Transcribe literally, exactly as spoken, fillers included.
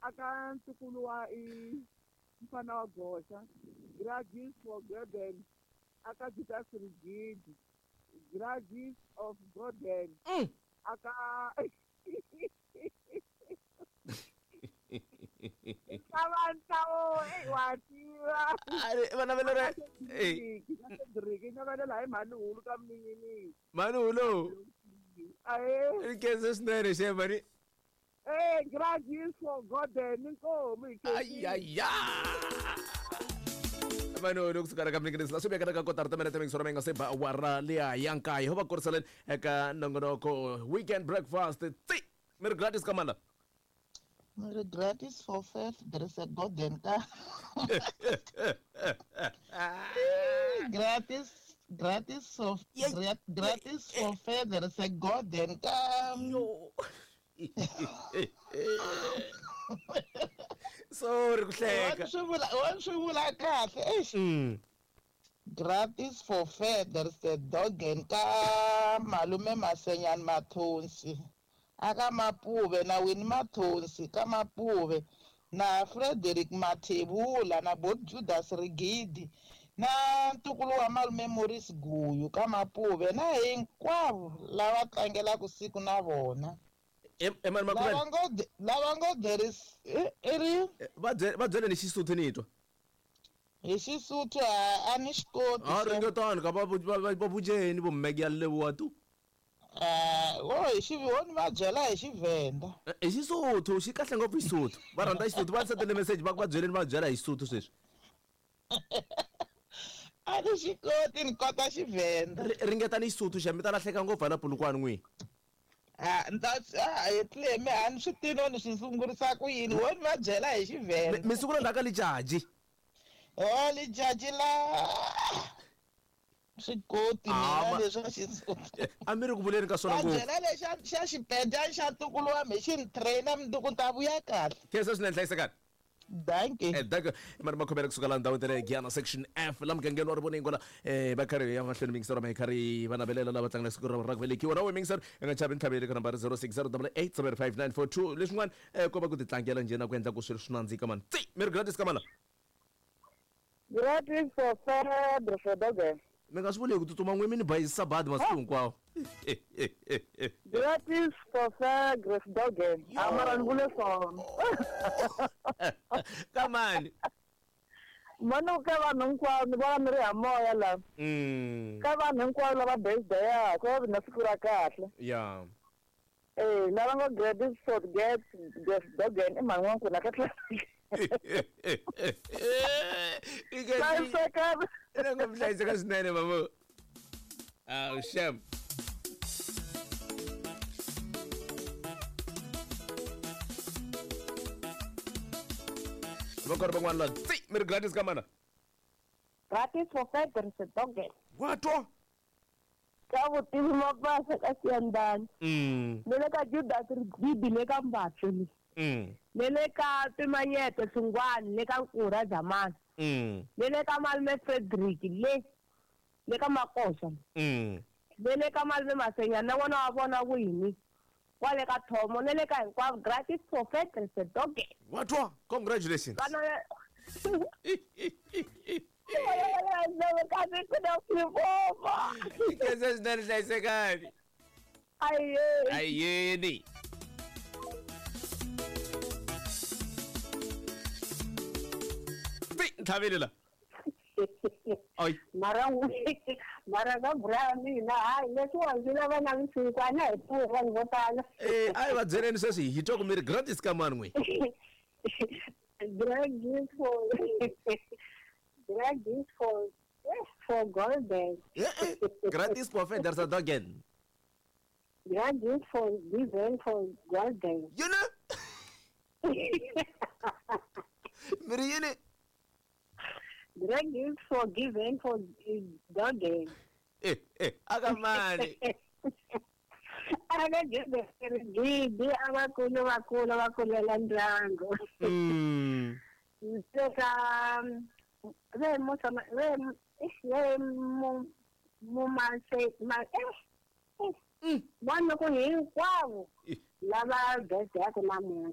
Aka ntukulu wa i mfana wa goxa. Gratis for Golden. Aka Judas Rigidi. Gratis of Golden. Mm. Aka Abantu eh wativa. Ari vana va lere. Eh. Cedric na vana la hi mhani hulu ka mninginini. Mhani hulu. Ae. Ikhense swinene xe mhani. Eh gratis for Golden inkomu Ay ay ay. Mano kusuka ka mninginisi la swi vekaka ka kotara timinete mingisoro mi nga se ba awara liya ya nkaye ho va kuriseleni eka nongonoko weekend breakfast tsi mi ri gratis ka mala. Miri gratis for faith there is a golden ka. Gratis gratis for gratis for faith there is a golden ka. Yo. Sorry ku hleka. Wa swi vula wa swi vula kahle eish. Mm. Gratis for faith there is a dog ka malume Masenyani Mathonsi. Aka Mapuve na Winnie Mathonsi ka Mapuve na Frederick Mathebula na Bot Judas Rigidi na ntukulu wa malume Maurice Guyu ka Mapuve na hinkwavo lava tlangelaka siku na vona. Emani Lava ngo lava ngo there is i ri va byele va byele ni Xisuthu ni twa. Hi Xisuthu a ni xi koti. A ringetani ka va va vujeni vo mmeke ya leboha tu. Eh, wo hi xi wo ni va byela hi Xivenda. Hi Xisuthu xi kahle ngopfu Xisuthu. Va rhandza Xisuthu va sendele message va ku va byeleni va byela hi Xisuthu sweswi. A ni xi koti ni kota Xivenda. Ringetani Xisuthu xa mi ta lahleka ngopfu hala Polokwane n'wini. Ah, nta ah etle me a ni swi tivi ni swi sungurisa ku yini wo ni va byela hi Xivenda. Mi sungula ndzhaku ka lijaji. Oh lijaji la swi koti mina leswa Xisuthu. A mi ri ku vuleni ka swona ngopfu. Va byela lexa xa xipenda xa ntukulu wa me xi ni train-a mundzuku ni ta vuya kahle. Khensa swinene hlayisekani. Dankie. Eh dankie. Mara makhomela kusuka la ndhawini ta le Giyani section F la mugangeni wa Rivoningo la eh va karhi ya mahlweni mingisero ma hi karhi va navelela lava tlangela siku ra ra ku velekiwa na we mingisero i nga chavi ntlhaveli ka nambara zero six zero double eight seven five nine four two leswin'wana eh ko va ku ti tlangela njhe na ku endla ku swilo swi nandzika mani. Tsi mi ri gratis ka mana. Gratis for Fred for Doge. Mi nga swi vuli hi ku tsutsuma n'we mi ni bayizisa badi masiku hinkwawo. Gratis for Fred Doge. Amara ni vule swona. Kamani. Mano ka vanhu hinkwavo ni vona ni ri ha moya la. Mm. Ka vanhu hinkwavo lava birthday ya ku va na siku ra kahle. Yeah. Eh lava nga gratis for get Doge i mhani wa nkuna ka tlhela. Hlayiseka. Nga hlayiseka swinene mama. Ah, shem. Va karhi van'wana la tsi mi ri gratis ka mana. Gratis for Fred Doge. Wa twa. Ka vutivi mapasa ka Siyandani. Mm. Ni le ka Judas Rigidi le ka Mbatsi. Mm. Ni le ka Pimanyete Sungwani le ka Nkura Zamani. Mm. Ni le ka malume Frederick le le ka Makosa. Mm. Ni le ka malume Masenyana na vona wa vona wini. Kwale ka Thomo ni le ka hinkwavo gratis for Fred Doge. Wa twa congratulations. Vana Ikhensa swinene hlayisekani. Ayeni. Ayeni. Tsi ntlhaveli la. Ay. Mara mara ka bra mina hayi leswiwa ndzi lava na misinkwana hi pfuhi vanhu vo tala. Eh a hi va byeleni sweswi hi twa ku mi ri gratis ka mani n'we. Gratis for gratis for for golden. Eh gratis for Fred Dogen. Gratis for given for golden. You know? Mi ri yini? Gratis for given for golden. Eh eh aka mani. Aka Judas Rigidi abakulu bakulu bakulela ndyangu. Mm. Seka ve musa ve ve mu mu ma se ma eh Mm. Vanhu ku hinkwavo lava birthday ya ku namuntlha.